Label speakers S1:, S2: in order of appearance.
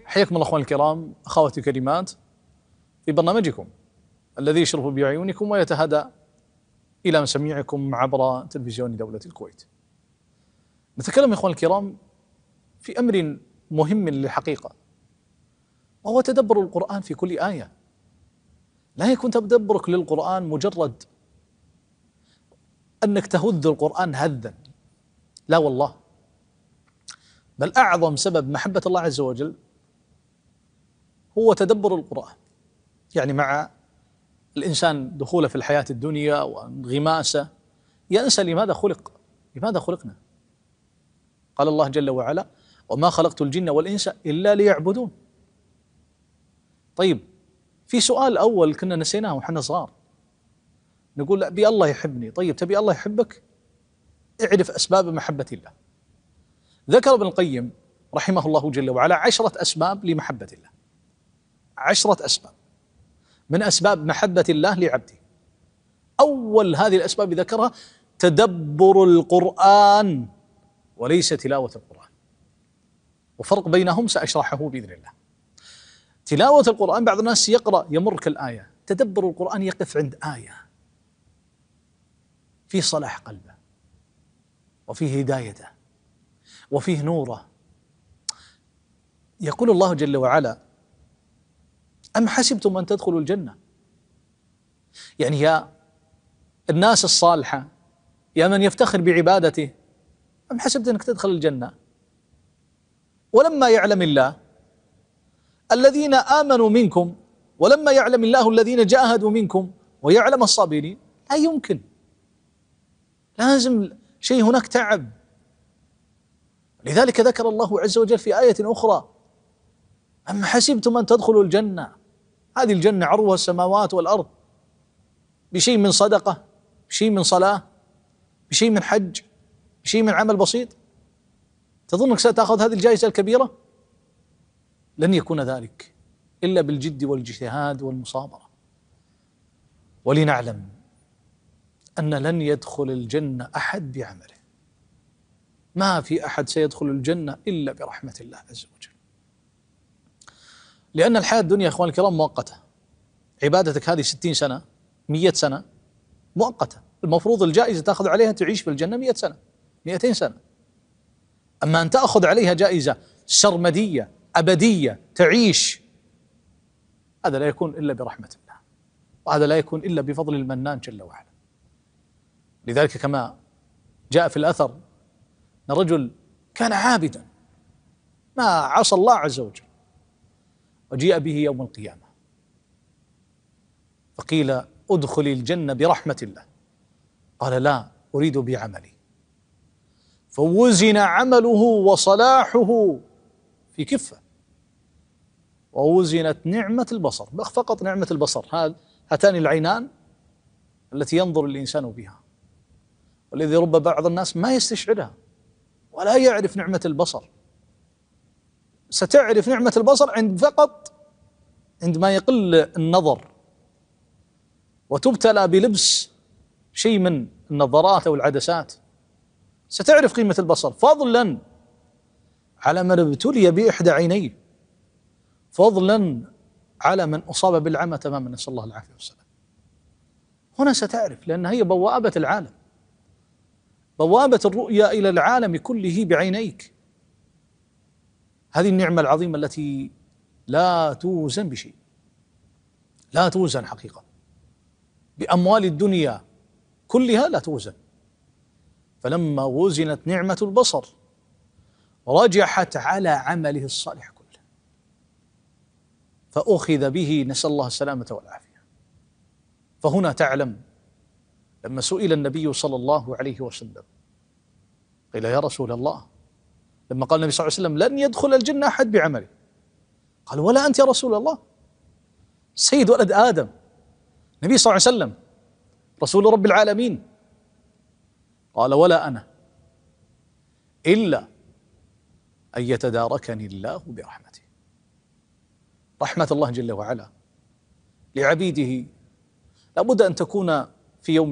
S1: حياكم الله اخواني الكرام، اخواتي الكريمات، في برنامجكم الذي يشرف بعيونكم ويتهدى الى مسامعكم عبر تلفزيون دولة الكويت. نتكلم يا اخواني الكرام في امر مهم للحقيقة، وهو تدبر القرآن في كل آية. لا يكون تدبرك للقرآن مجرد انك تهذ القرآن هذا، لا والله، بل اعظم سبب محبة الله عز وجل هو تدبر القرآن. يعني مع الإنسان دخوله في الحياة الدنيا وانغماسه ينسى لماذا خلق، لماذا خلقنا. قال الله جل وعلا: وما خلقت الجن والإنس إلا ليعبدون. طيب، في سؤال أول كنا نسيناه وحنا صغار، نقول أبي الله يحبني. طيب، تبي الله يحبك؟ اعرف أسباب محبة الله. ذكر ابن القيم رحمه الله جل وعلا 10 أسباب لمحبة الله، 10 أسباب من أسباب محبة الله لعبده. أول هذه الأسباب ذكرها تدبر القرآن وليس تلاوة القرآن، وفرق بينهم سأشرحه بإذن الله. تلاوة القرآن بعض الناس يقرأ يمر كالآية، تدبر القرآن يقف عند آية في صلاح قلبه وفيه هدايته وفيه نوره. يقول الله جل وعلا: أم حسبتم أن تدخلوا الجنة؟ يعني يا الناس الصالحة، يا من يفتخر بعبادته، أم حسبت أنك تدخل الجنة ولما يعلم الله الذين آمنوا منكم ولما يعلم الله الذين جاهدوا منكم ويعلم الصابرين؟ لا يمكن، لازم شيء هناك تعب. لذلك ذكر الله عز وجل في آية أخرى: أم حسبتم أن تدخلوا الجنة. هذه الجنة عرضها السماوات والأرض، بشيء من صدقة، بشيء من صلاة، بشيء من حج، بشيء من عمل بسيط، تظنك ستأخذ هذه الجائزة الكبيرة؟ لن يكون ذلك إلا بالجد والاجتهاد والمصابرة. ولنعلم أن لن يدخل الجنة أحد بعمله، ما في أحد سيدخل الجنة إلا برحمة الله عز وجل. لأن الحياة الدنيا يا إخواني الكرام مؤقتة. عبادتك هذه 60 سنة 100 سنة مؤقتة، المفروض الجائزة تأخذ عليها تعيش في الجنة 100 سنة 200 سنة. أما أن تأخذ عليها جائزة سرمدية أبدية تعيش، هذا لا يكون إلا برحمة الله، وهذا لا يكون إلا بفضل المنان جل وعلا. لذلك كما جاء في الأثر أن رجل كان عابدا ما عصى الله عز وجل، وجيء به يوم القيامة فقيل: ادخل الجنة برحمة الله. قال: لا، أريد بعملي. فوزن عمله وصلاحه في كفة، ووزنت نعمة البصر، فقط نعمة البصر، هاتان العينان التي ينظر الإنسان بها، والذي رب بعض الناس ما يستشعرها ولا يعرف نعمة البصر. ستعرف نعمة البصر فقط عندما يقل النظر وتبتلى بلبس شيء من النظارات أو العدسات، ستعرف قيمة البصر، فضلا على من ابتلي بإحدى عينيه، فضلا على من أصاب بالعمى تماما، نسأل الله العافية والسلام. هنا ستعرف، لأن هي بوابة العالم، بوابة الرؤيا إلى العالم كله بعينيك. هذه النعمة العظيمة التي لا توزن بشيء، لا توزن حقيقة، بأموال الدنيا كلها لا توزن. فلما وزنت نعمة البصر رجحت على عمله الصالح كله، فأخذ به، نسأل الله السلامة والعافية. فهنا تعلم لما سئل النبي صلى الله عليه وسلم قيل: يا رسول الله، لما قال النبي صلى الله عليه وسلم: لن يدخل الجنة أحد بعمله، قال: ولا أنت يا رسول الله؟ سيد ولد آدم، النبي صلى الله عليه وسلم رسول رب العالمين. قال: ولا أنا، إلا أن يتداركني الله برحمته. رحمة الله جل وعلا لعبيده لابد أن تكون في يوم